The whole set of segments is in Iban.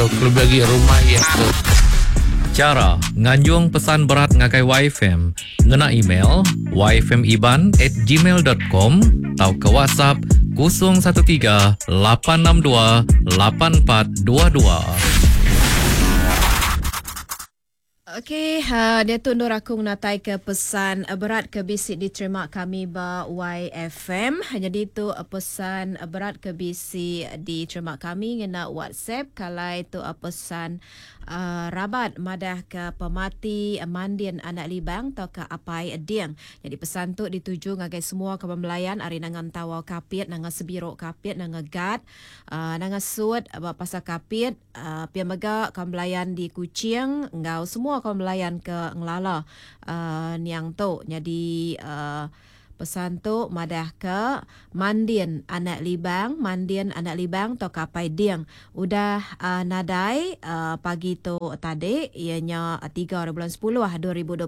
Kelebih agi rumah iya ke. Chara nganjung pesan berat ngagai YFM ngena email yfmiban at gmail dot com tauka WhatsApp 013 862 8422. Okey, uh, diatu endur aku ngenatai ke pesan berat ke bisi diterima kami ba YFM. Jadi tu pesan berat ke bisi diterima kami ngena WhatsApp. Kalai tu pesan uh, rabat madah ke pemati Mandin anak Libang atau ke Apai Ding. Jadi pesan tu dituju ngagai semua kaban belayan ari Nanga Entawau Kapit, Nanga Sebiro Kapit, Nanga Gat, uh, Nanga Sut ba Pasar Kapit, Pia mega kaban belayan di Kuching enggau semua kaban belayan ke ngelala niang tu nyadi pesan tu madahka Mandin anak Libang, Mandin anak Libang tauka Apai Ding udah nadai pagi tu tadi iya nya 3 hari bulan 10 2026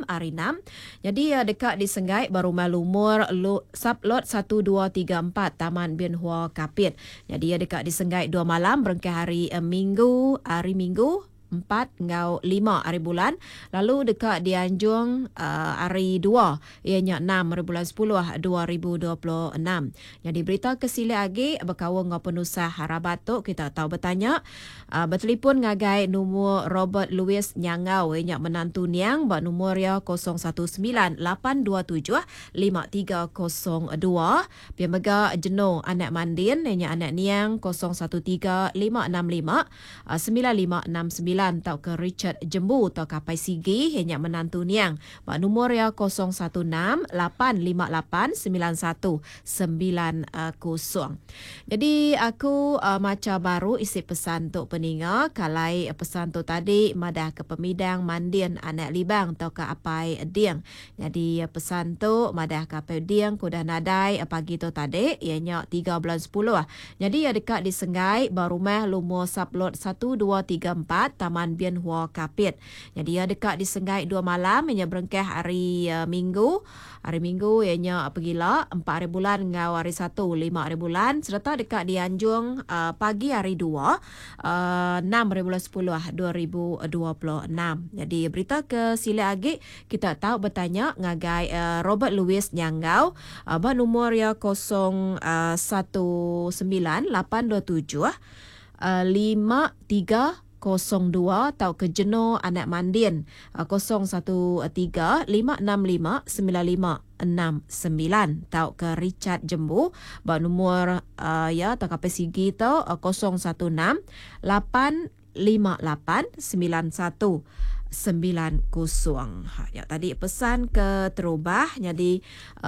hari 6. Nyadi iya deka disenggai ba rumah lumur Sublot 1234 Taman Bien Hua Kapit. Nyadi iya deka disenggai dua malam berengkah hari Minggu, hari Minggu, empat enggau lima hari bulan lalu deka dianjung hari dua iya nya enam hari bulan sepuluh 2026. Nyadi berita ke silik agi bekaul enggau penusah rabat tu kita tau betanya betelipon ngagai numur Robert Louis Nyanggau iya nya menantu niang ba numur iya 019 827 5302. Pia mega Jeno anak Mandin iya nya anak niang 013 565 9569 tauka Richard Jembu tauka Apai Sigi iya nya menantu niang ba numur iya 016 858 9190. Jadi aku macha baru isi pesan tu peninga kalai pesan tu tadi madah ke pemidang Mandin anak Libang tauka Apai Ding. Nyadi pesan tu madah ka Apai Ding ke udah nadai pagi tu tadi iya nya 3 bulan 10. Nyadi iya deka disenggai ba rumah lumur sublot 1234 Taman Bien Hua Kapit. Nyadi iya deka disenggai 2 malam iya nya berengkah hari Minggu. Hari Minggu iya nya pegila 4 hari bulan enggau hari Satu 5 hari bulan sereta deka dianjung pagi hari 2 6 hari bulan 10 2026. Jadi berita ke silik agi kita tau betanya ngagai Robert Louis Nyanggau ba numur iya 019 827 5302 tauka Jeno anak Mandin 013 565 9569 tauka Richard Jembu ba numur ya tauka PCG tu 016 858 91 90. Ha, ya, tadi pesan ke terubah jadi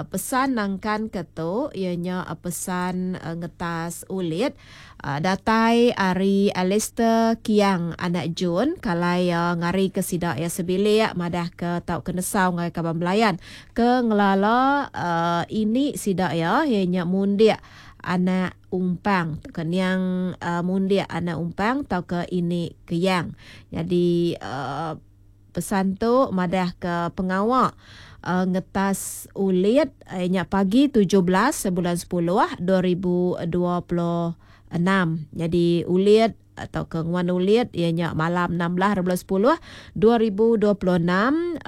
pesan nangkan ke tu ianya pesan ngetas ulit datai ari Alistair Kiang anak Jun kalai ngari ke sida ya sebilik madah ke tau ke nesau ngai kaban belayan ke ngelala ini sida ya ianya Mundik anak Umpang ke niang Mundik anak Umpang tau ke ini Keyang. Jadi pesan tu madah ke pengawa ngetas ulit nya pagi 17 bulan 10 2026. Jadi ulit atau ke nguan ulit ianya malam 16 bulan 10 2026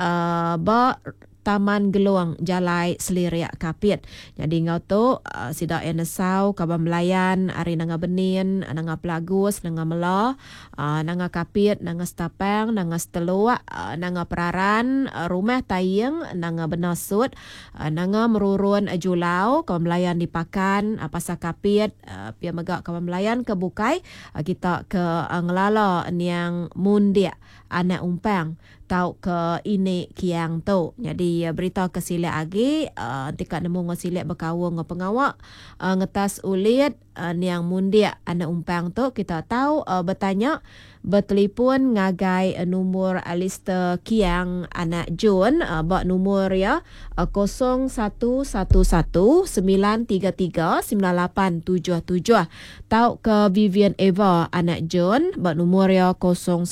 ba Taman Gelong Jalai Selirik Kapit. Jadi ngau tu sida yang nesau kaban belayan ari Nanga Benin, Nanga Pelagus, Nanga Mela, Nanga Kapit, Nanga Setapang, Nanga Seteluk, Nanga Peraran, Rumah Taing, Nanga Benasut, Nanga Merurun Julau, kaban belayan di Pakan, Pasar Kapit, pia mega kaban belayan ke bukai kita ke ngelala niang Mundik anak Umpang tau ke ini Kiang tu. Jadi berita ke silik agi enti ka nemu ngau silik bekaul ngau pengawa ngetas ulit niang Mundik anak Umpang tu kita tau betanya betelipon ngagai numur Alistair Kiang anak Jun ba numur iya 0111 933 9877 tau ke Vivian Eva anak John ba numur iya 019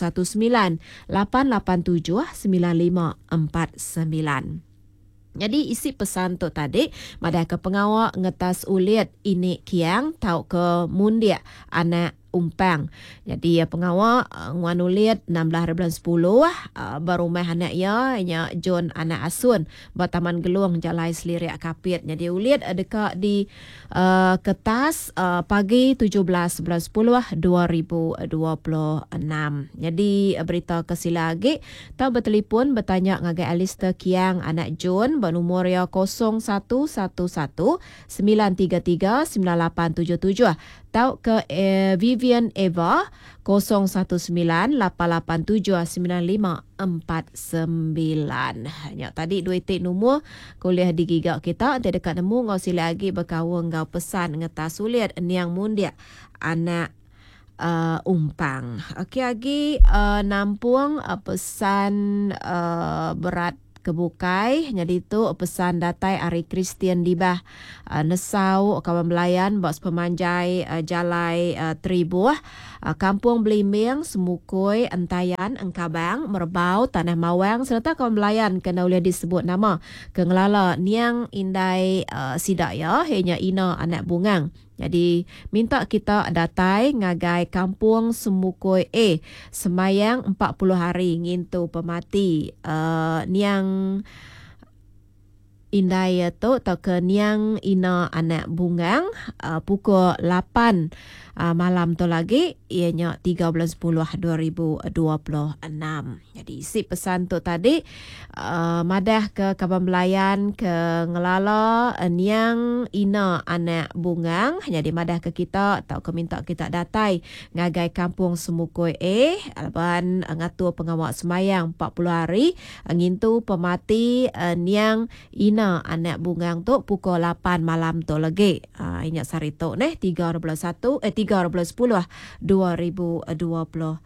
887 9549. Jadi isi pesan tu tadi madah ke pengawa ngetas ulit ini Kiang tau ke Mundik anak. Umpang. Nyadi pengawa nguan ulit 16 hari bulan sepuluh ba rumah anak iya nya John anak Asun ba Taman Gelong Jalai Selirik Kapit. Nyadi ulit deka di ketas pagi 17 bulan 10 2026. Nyadi berita ke sila agi tau betelefon betanya ngagai Alistair Kiang anak John ba numur iya 0111 933 9877 tauka Vivian Eva 019 887 9549. Nya tadi dua iti numur ke ulih digiga kita enti deka nemu enggau silik agi bekaul enggau pesan ngetas ulit niang mundik anak uh, umpang. Okey agi uh, nampung uh, pesan uh, berat ke bukai. Nyadi tu pesan datai ari Kristian Dibah nesau kaban belayan ba sepemanjai jalai Tribuh, Kampung Belimbing, Semukui, Entayan, Engkabang, Merebau, Tanah Mawang sereta kaban belayan ke enda ulih disebut nama ke ngelala niang indai sida iya iya nya Ina anak Bungang. Nyadi, minta kita datai ngagai Kampung Semukoi A sembayang 40 hari ngintu pemati niang indai iya tu tauka niang Ina anak Bungang pukul 8 malam tu lagi iya nya 3 bulan 10 2026. Nyadi isi pesan tu tadi madah ke kaban belayan ke ngelala niang Ina anak Bungang nyadi madah ke kita tauka minta kita datai ngagai Kampung Semukoi A laban ngatur pengawa sembahyang 40 hari ngintu pemati niang Ina anak Bungang tu pukul 8 malam tu legi. Inya sehari tu neh 3 bulan 1 eh 3 bulan 10 2026.